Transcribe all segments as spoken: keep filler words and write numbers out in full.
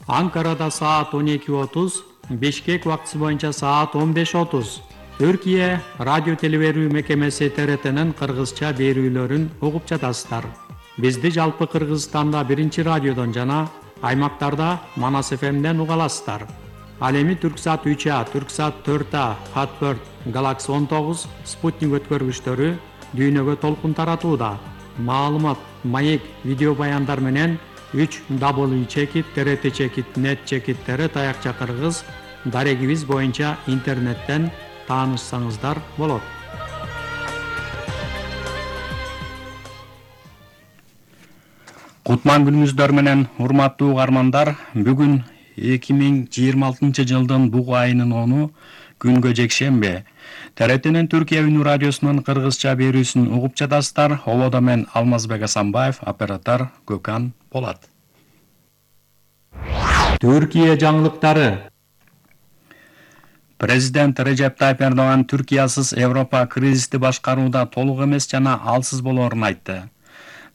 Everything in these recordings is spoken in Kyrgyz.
Анкарада саат он эки отуз, Бишкек убактысы боюнча саат он беш отуз. Түркия радио телеберүү мекемеси Т Р Т'нин кыргызча берүүлөрүн угуп жатасыздар. Бизди жалпы Кыргызстанда биринчи радиодон жана аймактарда Манас эф эмден уга аласыздар. Ал эми Түрксат үч А, Түрксат төрт А, Хатберт, Galaxy он тогуз, Спутник өткөргүчтөрү дүйнөгө толкун таратууда. Маалымат, маек, видео баяндар менен үч дабл ю чекит т р т чекит нет чекит тире таякча кыргыз дарегибиз боюнча интернеттен таанышсаңыздар болот. Кутман күнүңүздөр менен урматтуу угармандар, бүгүн эки миң жыйырма алтынчы жылдын буг айынын onu күнгө жекшембе. Т Р Т'нин Түркия үнү радиосунун кыргызча берүүсүн угуп жатасыздар. Ободо мен Алмазбек Асанбаев, оператор Gökhan Polat. Түркия жаңылыктары. Президент Режеп Тайып Эрдоган Түркиясыз Европа кризисти башкарууда толук эмес жана алсыз болоорун айтты.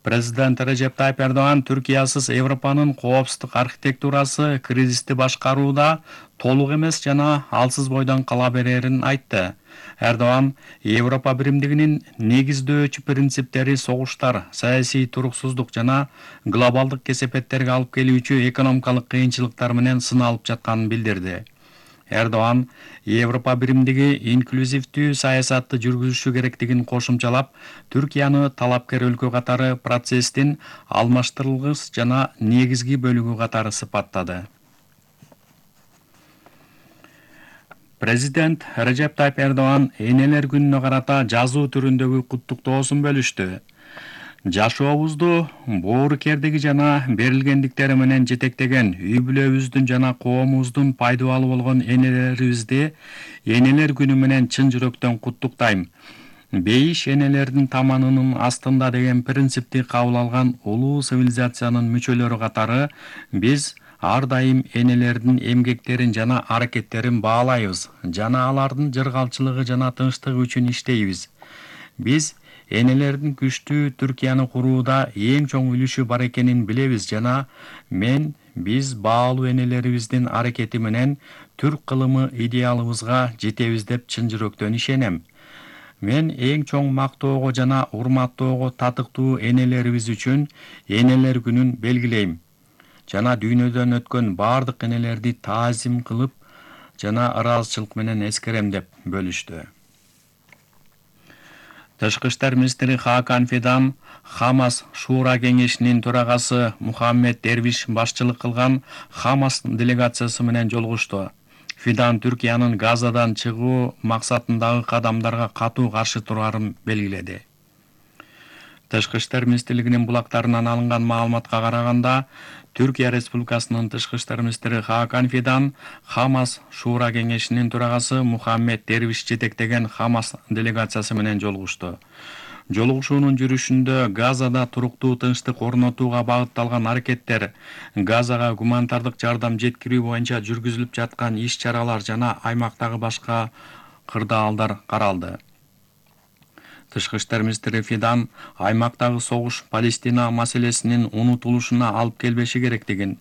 Президент Режеп Тайып Эрдоган Түркиясыз Европанын коопсуздук архитектурасы кризисти башкарууда толук эмес жана алсыз бойдон кала берерин айтты. Эрдоган Европа биримдигинин негиздөөчү принциптери согуштар, саясий туруксуздук жана глобалдык кесепеттерге алып келүүчү экономикалык кыйынчылыктар менен сыналып жатканын билдирди. Эрдоган Европа биримдиги инклюзивдүү саясатты жүргүзүшү керектигин кошумчалап, Түркияны талапкер өлкө катары процесстин алмаштырылгыс жана негизги бөлүгү катары сыпаттады. Президент Режеп Тайып Эрдоган энелер күнүнө карата жазуу түрүндөгү куттуктоосун бөлүштү. Жашообузду боорукердиги жана берилгендиктери менен жетектеген үй бүлөбүздүн жана коомубуздун пайдалуу болгон энелерибизди энелер күнү менен чын жүрөктөн куттуктайм. Бейиш энелердин таманынын астында деген принципти кабыл алган улуу цивилизациянын мүчөлөрү катары биз ар дайым энелердин эмгектерин жана аракеттерин баалайбыз жана алардын жыргалчылыгы жана тынчтыгы үчүн иштейбиз. Биз энелердин күчтүү Түркияны курууда эң чоң үлүшү бар экенин билебиз жана мен биз баалуу энелерибиздин аракети менен түрк кылымы идеалыбызга жетебиз деп чын жүрөктөн ишенем. Мен эң чоң мактоого жана урматтоого татыктуу энелерибиз үчүн энелер күнүн белгилейм жана дүйнөдөн өткөн бардык энелерди таазим кылып жана ыраазычылык менен эскерем деп бөлүштү. Тышкы иштер министри Хакан Фидан Хамас Шуура кеңешинин төрагасы Мухаммед Дервиш башчылык кылган Хамас делегациясы менен жолугушту. Фидан Түркиянын Газадан чыгуу максатындагы кадамдарга катуу каршы турарын белгиледи. Тышкы иштер министрлигинин булактарынан алынган маалыматка караганда, Түркия Республикасынын тышкы иштер министри Хакан Фидан Хамас Шуура кеңешинин төрагасы Мухаммед Дервиш жетектеген Хамас делегациясы менен жолугушту. Жолугушуунун жүрүшүндө Газада туруктуу тынчтык орнотууга багытталган аракеттер, Газага гуманитардык жардам жеткирүү боюнча жүргүзүлүп жаткан иш-чаралар жана аймактагы башка кырдаалдар каралды. Тышкы иштер министри Фидан аймактагы согуш Палестина маселесинин унутулушуна алып келбеши керектигин,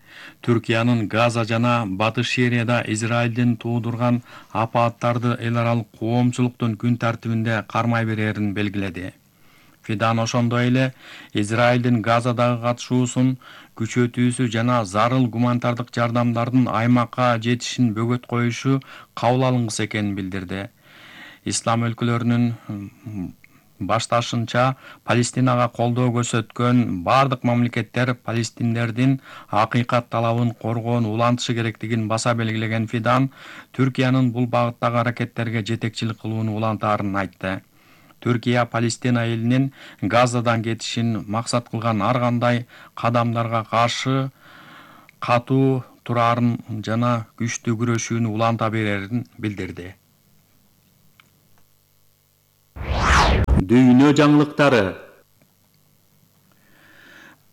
Түркиянын Газа жана Батыш Сирияда Израилдин туудурган апааттарды эл аралык коомчулуктун күн тартибинде кармай берерин белгиледи. Фидан ошондой эле Израилдин Газадагы катышуусун күчөтүүсү жана зарыл гуманитардык жардамдардын аймакка жетишин бөгөт коюшу кабыл алынгыс экенин билдирди. Ислам өлкөлөрүнүн башташынча Палестинага колдоо көрсөткөн бардык мамлекеттер палестиндердин акыйкат талабын коргоону улантышы керектигин баса белгилеген Фидан Түркиянын бул багыттагы аракеттерге жетекчилик кылууну улантаарын айтты. Түркия Палестина элинин Газадан кетишин максат кылган ар кандай кадамдарга каршы катуу турарын жана күчтүү күрөшүүнү уланта берерин билдирди. Дүйнө жаңылыктары.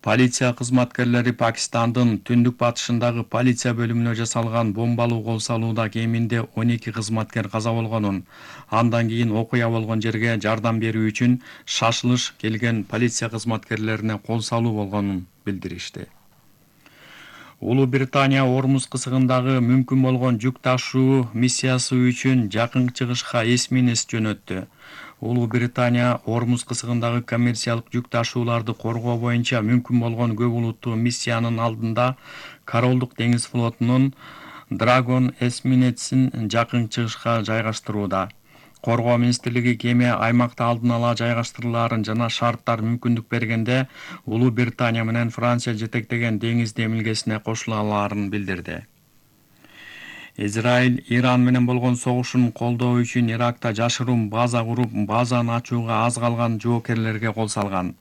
Полиция кызматкерлери Пакистандын түндүк батышындагы полиция бөлүмүнө жасалган бомбалуу кол салууда кеминде он эки кызматкер каза болгонун, андан кийин окуя болгон жерге жардам берүү үчүн шашылыш келген полиция кызматкерлерине кол салуу болгонун билдиришти. Улуу Британия Ормуз кысыгындагы мүмкүн болгон жүк ташуу миссиясы үчүн Жакын Чыгышка эсминец жөнөттү. Улуу Британия Ормуз кысыгындагы коммерциялык жүк ташууларды коргоо боюнча мүмкүн болгон көп улуттуу миссиянын алдында Королдук деңиз флотунун Драгон эсминецин Жакын Чыгышка жайгаштырууда. Коргоо министрлиги кеме аймакта алдын ала жайгаштырылаарын жана шарттар мүмкүндүк бергенде Улуу Британия менен Франция жетектеген деңиз демилгесине кошула алаарын билдирди. Израиль Иран менен болгон согушун колдоо үчүн Иракта жашыруун база куруп, базаны ачууга аз калган жоокерлерге кол салган.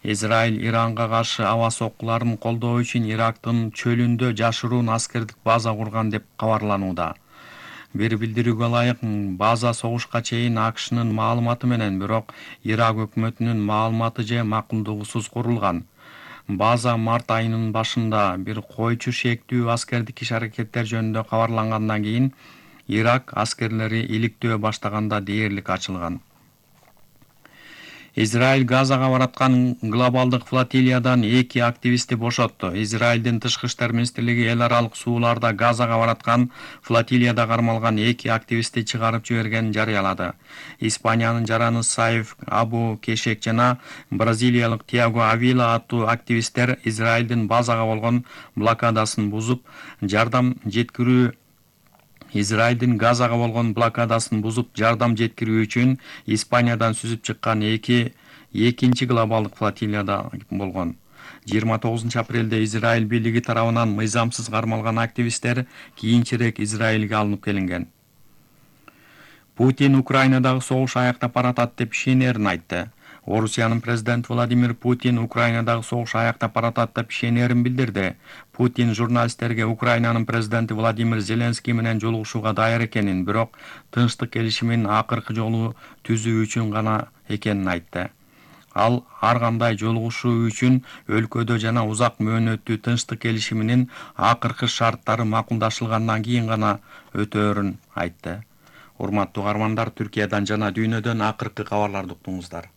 Израиль Иранга каршы аба соккуларын колдоо үчүн Ирактын чөлүндө жашыруун аскердик база курган деп кабарланууда. Бир билдирүүгө ылайык, база согушка чейин АКШнын маалыматы менен, бирок Ирак өкмөтүнүн маалыматы же макулдугусуз курулган. База март айынын башында бир койчу шектүү аскердик иш-аракеттер жөнүндө кабарлангандан кийин Ирак аскерлери иликтөө баштаганда дээрлик ачылган. Израиль Газага бараткан глобалдык флотилиядан эки активистти бошотту. Израилдин тышкы иштер министрлиги эл аралык сууларда Газага бараткан флотилияда кармалган эки активистти чыгарып жибергенин жарыялады. Испаниянын жараны Саиф Абу Кешек жана бразилиялык Тиаго Авила аттуу активисттер Израилдин базага болгон блокадасын бузуп, жардам жеткирүү Израилдин Газага болгон блокадасын бузуп, жардам жеткирүү үчүн Испаниядан сүзүп чыккан эки экинчи глобалдык флотилияда болгон. жыйырма тогузунчу апрелде Израиль бийлиги тарабынан мыйзамсыз кармалган активисттер кийинчерээк Израилге алынып келинген. Путин Украинадагы согуш аяктап баратат деп ишенерин айтты. Орусиянын президенти Владимир Путин Украинадагы согуш аяктап баратат деп ишенерин билдирди. Путин журналисттерге Украинанын президенти Владимир Зеленский менен жолугушууга даяр экенин, бирок тынчтык келишимин акыркы жолу түзүү үчүн гана экенин айтты. Ал ар кандай жолугушуу үчүн өлкөдө жана узак мөөнөттүү тынчтык келишиминин акыркы шарттары макулдашылгандан кийин гана өтөөрүн айтты. Урматтуу угармандар, Түркиядан жана дүйнөдөн акыркы кабарларды уктуңуздар.